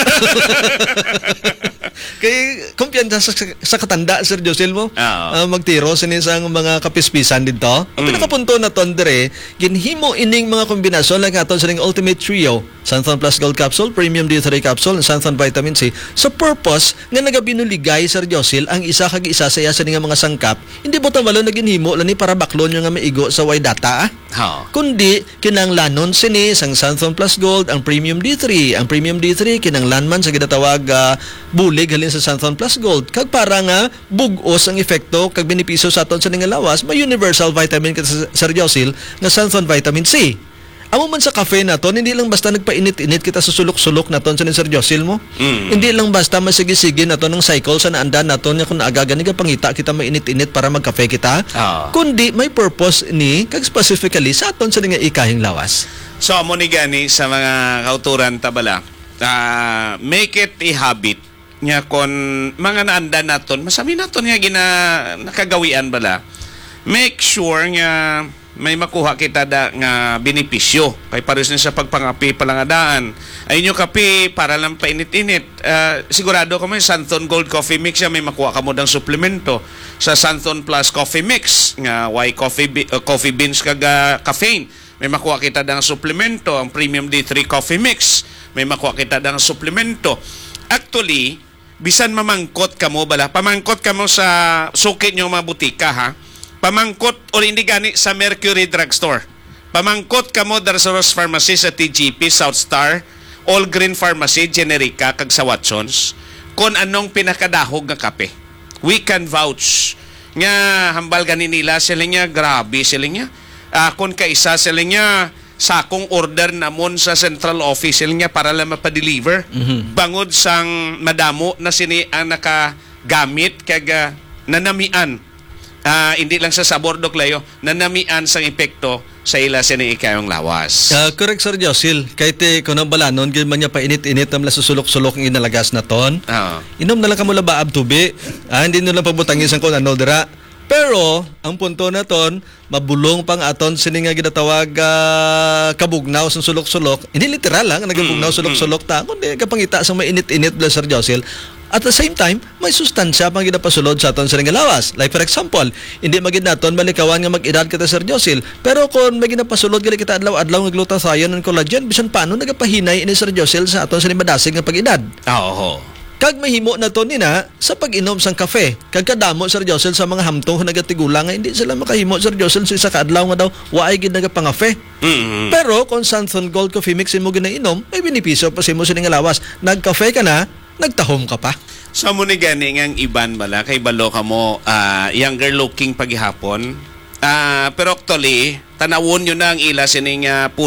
Kay kumpiyansa sa, sa, sa katanda, Sir Josil mo. Ah. Ah, magtiro sini sang mga kapispisan dito. Ang Mm. pinakapunto na ton dire, ginhimo ining mga kombinasyon lang aton sa ning Ultimate Trio. Xanthone Plus Gold Capsule, Premium D three Capsule, and Xanthone Vitamin C sa purpose nga nagabinuligay, Sir Josil, ang isa kag isa sa iya sini nga mga sangkap. Hindi po tawalo na ginhimo lang ni para baklon yung nga maigo sa way data, ah. Ha. Kundi, kinanglanon sini sang Xanthone Plus Gold, ang Premium D three. Ang Premium D three, kinanglan man sa ginatawag, ah, bulig halin sa Xanthone Plus Gold. Kag para nga bugos ang epekto kag benepisyo sa aton sa nga lawas, may universal vitamin ka sa, Sir Josil, nga Xanthone Vitamin C. Amo man sa kafe naton, hindi lang basta nagpainit-init kita sa sulok-sulok naton sa ni Sir Josil mo. Mm. Hindi lang basta masigi-sige naton ang cycle sa naandan naton nga kung aga gani gapangita kita mainit-init para magkafe kita. Ah. Kundi may purpose ni, kag specifically sa aton sa nga ikahing lawas. So, amo ni gani sa mga kauturan ta bala, ah, make it a habit nga kon mga naandan naton, masami naton nga gina-, nakagawian bala, make sure nga may makuha kita da nga benepisyo. Kay pares ni sa pagpangapi pa lang nga daan. Ay inyo kape para lang painit-init. Ah, sigurado kamo yung Santon Gold Coffee Mix, siya may makuha kamo dang suplemento sa Santon Plus Coffee Mix, nga way coffee bi-, uh, coffee beans kag, ah, caffeine. May makuha kita dang suplemento, ang Premium D three Coffee Mix. May makuha kita dang suplemento. Actually, bisan mamangkot kamo bala, pamangkot kamo sa suki nyo mga butika, ha? Pamangkot, or hindi gani, sa Mercury Drugstore. Pamangkot kamo dar sa Ross Pharmacy, sa T G P, South Star, All Green Pharmacy, Generica, kag sa Watsons, kung anong pinakadahog nga kape. We can vouch nga hambal gani nila, sila niya, grabe, sila niya. Ah, kung kaisa, sila niya, sakong order namon sa central office, sila niya, para lang mapadeliver. Mhm. Bangod sang madamo na sini ang nakagamit kag, ah, nanamian. Ah, hindi lang sa sabor, Doc Leo, nanamian sang epekto sa ila sini ikayong lawas. Ah, correct, Sir Josil. Kay ti, kung ang balanon, gid man niya painit-init naman sa sulok-sulok ang inalagas naton. Ah. Inom na lang kamo labaab tubi. Ah, hindi nyo lang pabutangi sang kung ano dira. Pero, ang punto naton, mabulong pang aton sini nga ginatawag, ah, kabugnaw sa sulok-sulok. Hindi literal lang, nagabugnaw Mm, sulok-sulok ta. Kundi, kapangita sa mainit-init bala, Sir Josil. At the same time, may sustansya pang ginapasulod sa aton sini nga lawas. Like, for example, hindi magid naton malikawan nga mag-edad kita, Sir Josil. Pero kung may ginapasulod gali kita adlaw-adlaw nga glutathione and collagen, bisan paano nagapahinay ini, Sir Josil, sa aton sini madasig nga pag-edad. Ah, oho. Kag mahimo naton nina sa pag-inom sang kafe. Kag kadamo, Sir Josil, sa mga hamtong nga nagatigulang nga hindi sila makahimo, Sir Josil, sa isa ka adlaw nga daw waay gid nagapangafe. Mm. Pero kung Sanson Gold Coffee Mix imo ginainom, may benepisyo pa sa imo sining lawas. Nagkafe ka na, nagtahom ka pa. So, amo ni gani nga ang iban bala, kay balo ka mo, ah, younger looking pa gihapon. Ah, pero actually, tanawon nyo na ang ila sining, ah, puno